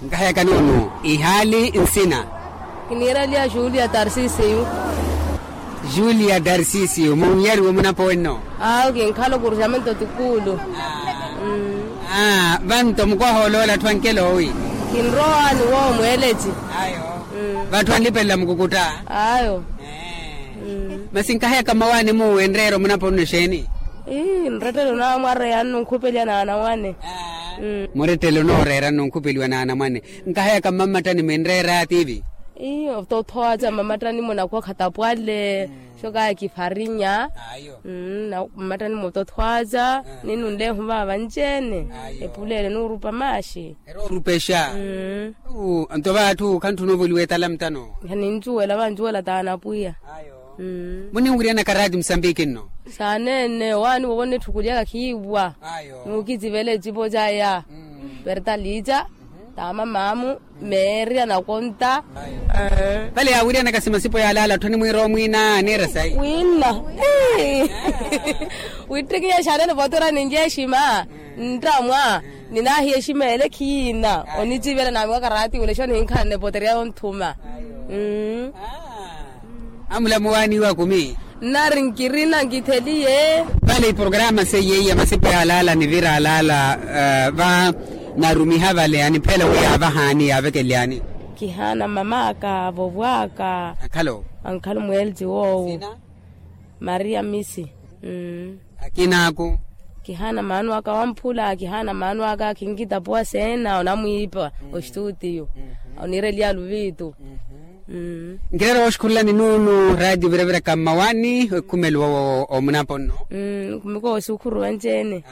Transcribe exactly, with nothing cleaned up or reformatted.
Nkaheyaka nuunu ihaali nsina. Kiniireliya julia tarsisiyu. Julia tarsisiyu munyariwe munapowenno. Awo kinkhala okurujamento tikuulu. Vanto mukwaha oloola atthu ankela owi. Kinrowaani woowo mweeleci. Vatthu anlipelela mukukutta. Ayo. Masi nkaheyaka mmawaani muwe nreera omunapo nno exeeni? Ii nrettele onaamwareya nno nkhupeliwa n'anamwane. Murettele onooreera nno nkhupeliwa n'anamwane. Nkaheyaka mmammattani mwinreera tiivi? Ii otothwaca mmammattani-mo nakhwa khatapwale. Xokaya kifarinya. Mmammattani-mo otothwaca. Ninunlehu vaava vanci-ene. Epuleele nuurupa maaxi. Eroorupexa. Nto vaathu khantthuna ovoliwa etala mutano. Khanincuwela vancuwela taana apwiya. Muninwiryanaka raati musambiki nno? Saaneene waani wovo nnitthukulyaka khiiwa. Nuukicivela ecipo caya. Pertalica taamamaamu meerya nakonta. Vale yaawiryanaka simasipo yaalaala atthu animwiira omwiina aniira sayi. Wiinna. Wittikinya xaneene votora ninci exima. Nttamwa ninaahiya exima ele khiyina onicivela naamiwaka raati wile xo nihinkhanne potereya yonthuma. Amulamu waaniiwa kumi. Nnari nkirina nkitheliye. Vale iprograma seiye iya masipo yaalaala nivira alaala va narumiha vale aniphela wi yaavahaani yaavekelyani. Kihaana mamaka vovwaka. Akhalo. Ankhala omweelci woowo. Maria misi. Akinaaku. Kihaana maano aka wamphula kihaana maano aka khinkitapuwa seena onamwiipa oxitutiyo. Oniireliya luvitu. Nkireera wooxikhurulani nuunu raatiyo viraviraka mmawani okhumelo omunapo nno. Nkhumiko woosikhuru wenci-ene.